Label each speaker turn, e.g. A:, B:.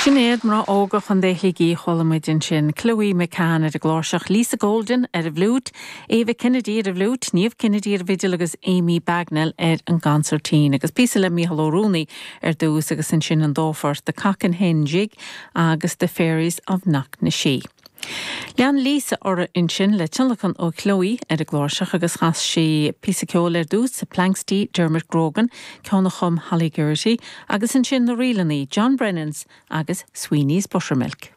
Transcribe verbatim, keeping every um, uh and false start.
A: Sin iad mná óga Chontae Shligigh chuala muid ansin Chloe McCann ar an gcláirseach Lisa Golden ar an bhfliúit, Eva Kennedy ar an bhfliúit, Niamh Kennedy ar an bhfidil agus Amy Bagnell ar an gconsairtín, agus píosa le Mícheál Ó Ruanaí ar dtús agus ansin an dá phort The Cock and Hen Jig agus The Fairies of Knocknashee. Lean Lisa uirthi ansin le tionlacan ó Chloe ar an gcláirseach agus chas sí píosa ceoil ar dtús Planxty Dermot Grogan, ceann a chum Holly Geraghty, agus ansin na ríleanna John Brennan's agus Sweeney's Buttermilk.